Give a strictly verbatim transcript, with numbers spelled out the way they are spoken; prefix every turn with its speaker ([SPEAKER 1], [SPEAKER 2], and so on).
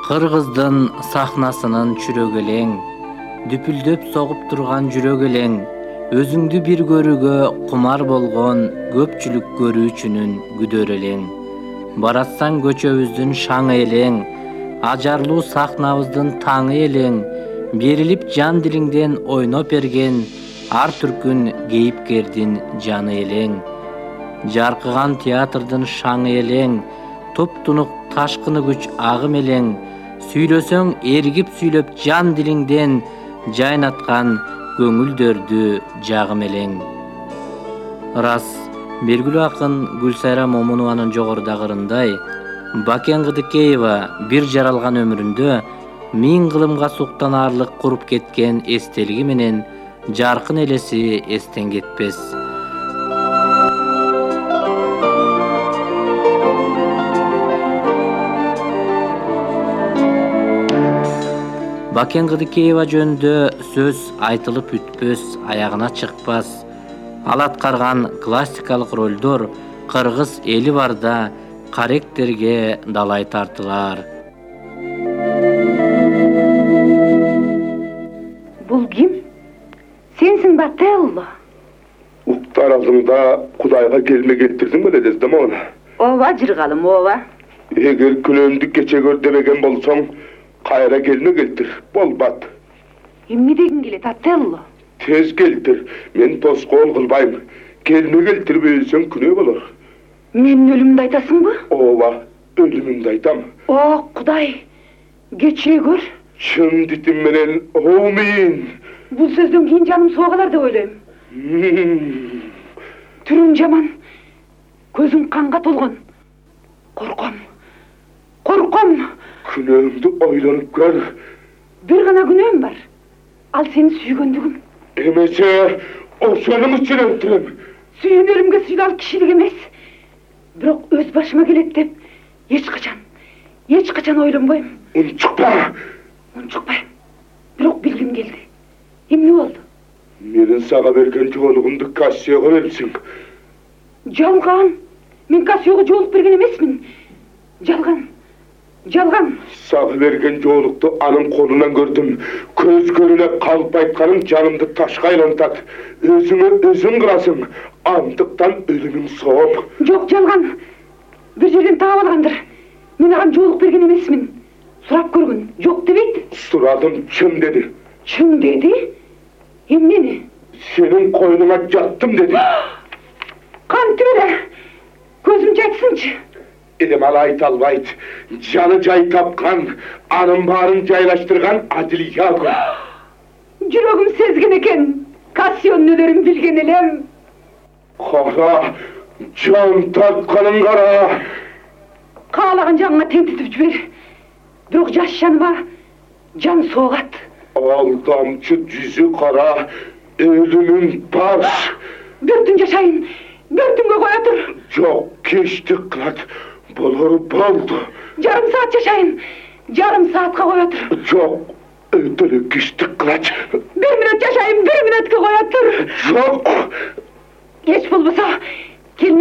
[SPEAKER 1] Кыргыздын сахнасынын чүрөгү элең, дүпүлдөп согуп турган жүрөк элең, өзүңдү бир көрүүгө кумар болгон көпчүлүк көрүүчүнүн күдөр элең. Баратсаң көчөбүздүн шаңы элең, ажарлуу сахнабыздын таңы элең, берилип жан дилиңден ойноп берген ар түркүн кейипкердин жаны элең. Жаркыган театрдын шаңы элең, топтунук ташкыны күч агым элең, сүйлөсөң эргип сүйлөп жан дилиңден жайнаткан көңүлдөрдү жагым элең. Рас, белгилүү акын Гүлсайра Момунованын жогорудагы ырындай, Бакен Кыдыкеева бир жаралган өмүрүндө миң кылымга суктанаарлык куруп кеткен эстелиги менен жаркын элеси эстен кетпес. Бакен Кыдыкеева жөнүндө сөз айтылып бүтпөс, аягына чыкпас. Ал аткарган классикалык ролдор кыргыз эли барда каректерге далай тартылар.
[SPEAKER 2] Бул ким? Сенсиң ба, Телло?
[SPEAKER 3] Уктар алдыңда Кудайга келме келтирдиң беле дездемона?
[SPEAKER 2] Ооба, жыргалым, ооба.
[SPEAKER 3] Эгер күнөөңдү кече көр демеген болсоң, кайра келме келтир, болбат.
[SPEAKER 2] Эмне дегиң келет, Телло?
[SPEAKER 3] Тез келтир, мен тоскоол кылбайм. Келме келтирбесең күнөө болор.
[SPEAKER 2] Менин өлүмүмдү айтасыңбы?
[SPEAKER 3] Ооба, өлүмүмдү айтам.
[SPEAKER 2] О, Кудай, кечире көр.
[SPEAKER 3] Чын дитим менен оомин.
[SPEAKER 2] Бул сөздөн кийин жаным соо калар деп ойлойм. Түрүң жаман, көзүң канга толгон. Корком, корком.
[SPEAKER 3] Күнөөңдү ойлонуп көр.
[SPEAKER 2] Бир гана күнөөм бар. Ал сени сүйгөндүгүм.
[SPEAKER 3] Эмесе, ошонун үчүн өлтүрөм.
[SPEAKER 2] Сүйөнөрүмгө сыйлал кишилик эмес. Бирок өз башыма келет деп эч качан, эч качан ойлонбойм.
[SPEAKER 3] Унчукпа.
[SPEAKER 2] Унчукпайм. Бирок билгим келди. Эмне болду?
[SPEAKER 3] Менин сага берген жоолугумду Кассияга берипсиң.
[SPEAKER 2] Жалган. Мен Кассияга жоолук берген эмесмин. Жалган. Жалган.
[SPEAKER 3] Сага берген жоолукту анын колунан көрдүм. Көз көрүнө калып айтканың жанымды ташка айлантат. Өзүңө өзүң кыласың. Андыктан өлүмүң сооп.
[SPEAKER 2] Жок, жалган. Бир жерден таап алгандыр. Мен ага жоолук берген эмесмин. Сурап көргүн. Жок дебейт.
[SPEAKER 3] Сурадым, чын деди.
[SPEAKER 2] Чын деди? Эмнени?
[SPEAKER 3] Сенин койнуңа жаттым деди.
[SPEAKER 2] Кантип эле? Көзүмчү айтсынчы.
[SPEAKER 3] Эдем ал айта албайт. Жаны жай тапкан, анын баарын жайлаштырган адил Яго.
[SPEAKER 2] Жүрөгүм сезген экен. Кассионун өлөрүн билген элем.
[SPEAKER 3] Кара, жан тартканын кара.
[SPEAKER 2] Каалаган жаныңа тентитип жибер. Бирок жаш жаныма жан соогат.
[SPEAKER 3] Алдамчы жүзү кара, өлүмүн баш.
[SPEAKER 2] Бир түн жашайын, бир түнгө коя тур.
[SPEAKER 3] Жок, кечтик кылат. Болор болду.
[SPEAKER 2] Жарым саат жашайын, жарым саатка коя тур.
[SPEAKER 3] Жок, өтө эле кечтик кылат.
[SPEAKER 2] Бир мүнөт жашайын, бир мүнөткө коя тур.
[SPEAKER 3] Жок.
[SPEAKER 2] Эч болбосо